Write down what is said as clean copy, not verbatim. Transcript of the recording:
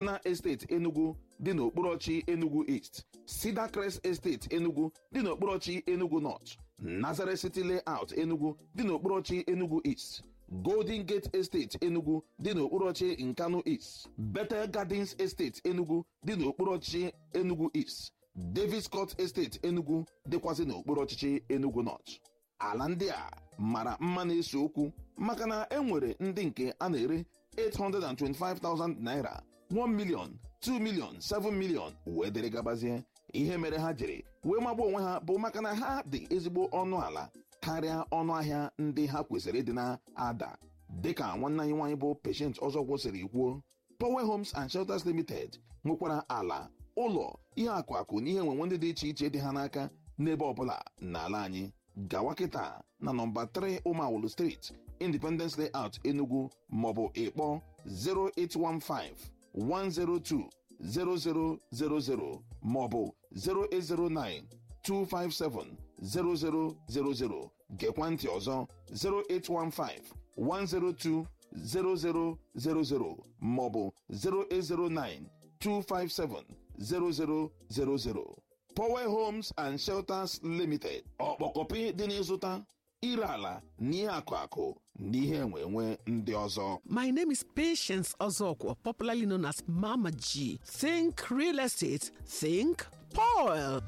Na Estate Enugu dị n'okpuru Enugu East, Cedar Crest Estate Enugu dị n'okpuru Enugu North, Nazareth City Layout Enugu dị n'okpuru Enugu East, Golden Gate Estate Enugu dị n'okpuru Nkanu East, Bethel Gardens Estate Enugu dị n'okpuru Enugu East, Davis Court Estate Enugu dịkwazị n'okpuru ọchịchị Enugu North. Ala ndị a mara mma na-ese okwu maka na e nwere ndị nke a na-ere 825,000 naira, 1 million, 2 million, 7 million wee dịrị gabazie. Ihe mere ha jiri wee magbuo onwe ha bụ maka na ha dị ezigbo ọnụ ala karịa ọnụ ahịa ndị ha kwesịrị ịdị na-ada. Dịka nwanne anyị nwaanyị bụ Patient ọzọ kwụsịrị kwuo, Power Homes and Shelters Limited nwekwara ala, ụlọ, ihe akụ akụ na ihe enwenwe ndị dị iche iche dị ha n'aka n'ebe ọbụla n'ala anyị. Gawa kịta na nọmba 3 Ụmawulu Street, Independence Layout, Enugu, maọbụ ịkpọ 0815 102 0000 maọbụ 0809 257 0000. Gekwa ntị ọzọ: 0815 102 0000 maọbụ 0809 257 0000. Power Homes and Shelters Limited, ọkpọkọpị dị n'ịzụta, ire ala na ihe akụ akụ na ihe enwe enwe ndị ọzọ. My name is Patience Ozokwo, popularly known as Mama G. Think real estate, think Paul.